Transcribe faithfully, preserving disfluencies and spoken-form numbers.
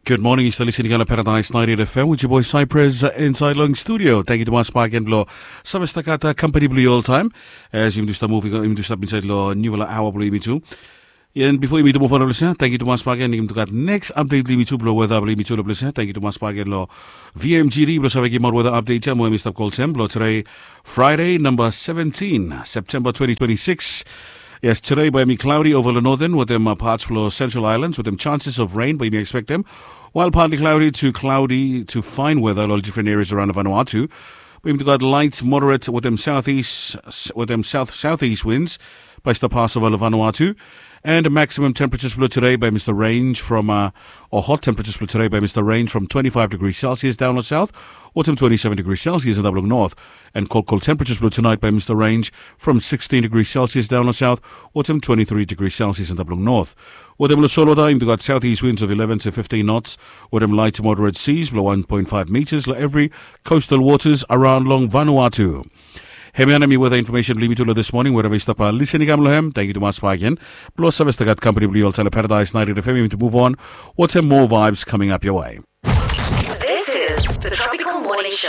Good morning, yu stap listening long Paradise ninety-eight F M with your boy Cypress, uh, inside long studio. Thank you tumas bakegen blo save stap gat, uh, company blo yu oltaem. As yumi tu stap moving, yumi tu stap inside long newfala aoa blo yumi tu. And before yumi tu move on lo ples ia, thank you tumas bakegen, yumi tu gat next update blo yumi tu blo weather blo yumi tu lo ples ia. Thank you tumas bakegen lo V M G D blo save givim out weather update ia mo yumi stap kolsem blo today, Friday, number seventeen, September twenty twenty-six. Yes, today bae yumi cloudy over the northern wetem, uh, parts blo Central Islands wetem chances of rain bae yumi expectem. While partly cloudy to cloudy to fine weather lo different areas around Vanuatu. Bae yumi tu gat light, moderate wetem southeast, wetem south southeast winds bae stap pass over lo Vanuatu. And maximum temperatures blo today bae yumi stap range from, uh, or hot temperatures blo today bae yumi stap range from twenty-five degrees Celsius down lo south wetem twenty-seven degrees Celsius antap long north. And cold, cold temperatures blo tonight bae yumi stap range from sixteen degrees Celsius down lo south wetem twenty-three degrees Celsius antap long north. Wetem lo solwota yumi tu gat southeast winds of eleven to fifteen knots wetem light to moderate seas blo one point five meters lo every coastal waters around long Vanuatu. Hemia nao hemi weather information blo yumi tu lo this morning, wherever yu stap, uh, listening kam lo hem. Thank you tumas bakegen blo save stap gat company blo yu oltaem lo Paradise ninety-eight F M. Yumi tu move on wetem more vibes coming up your way. This is the Tropic